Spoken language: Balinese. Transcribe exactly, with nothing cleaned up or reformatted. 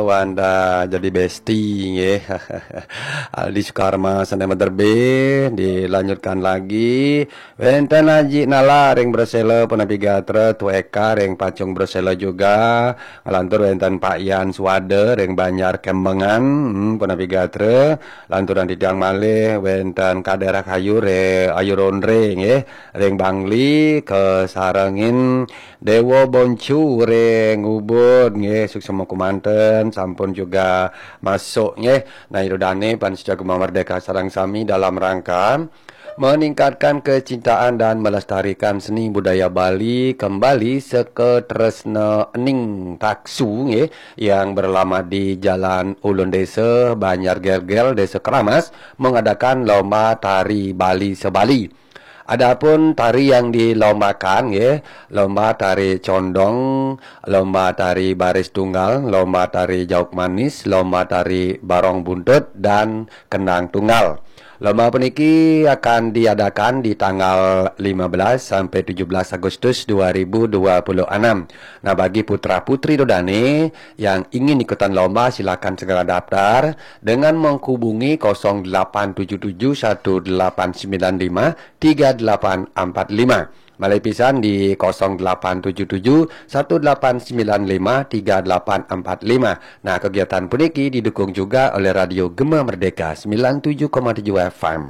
Wanda jadi besti nggih. Aldi Sukarma sané Mederbe dilanjutkan lagi. Wénten Aji Nala ring Bresela punapi gatra, Tu Eka ring Pacung Bresela juga. Nglantur wénten Pak Yan Suwada ring Banjar Kembengan, hmm, punapi gatra. Lanturang titiang malih wénten Kadera Kayu re Ayu Rondre nggih ring Bangli, kasarengin Dewa Boncu ring Ubud nggih, suksma kumanten sampun juga masuk nggih. Nah, ida dané pamiarsa Gema Merdeka sareng sami dalam rangka meningkatkan kecintaan dan melestarikan seni budaya Bali kembali, Seka Tresna Ening Taksu nggih, yang beralamat di Jalan Ulun Desa, Banjar Gelgel, Desa Keramas, mengadakan lomba tari Bali se-Bali. Adapun tari yang dilombakan nggih, lomba tari condong, lomba tari baris tunggal, lomba tari jauk manis, lomba tari barong buntut, dan kendang tunggal. Lomba puniki akan diadakan di tanggal lima belas sampai tujuh belas Agustus dua ribu dua puluh enam. Nah, bagi putra-putri ida dané yang ingin ikutan lomba, silakan segera daftar dengan menghubungi kosong delapan tujuh tujuh satu delapan sembilan lima tiga delapan empat lima. Malih pisan di kosong delapan tujuh tujuh satu delapan sembilan lima tiga delapan empat lima. Nah, kegiatan puniki didukung juga oleh Radio Gema Merdeka sembilan tujuh koma tujuh F M.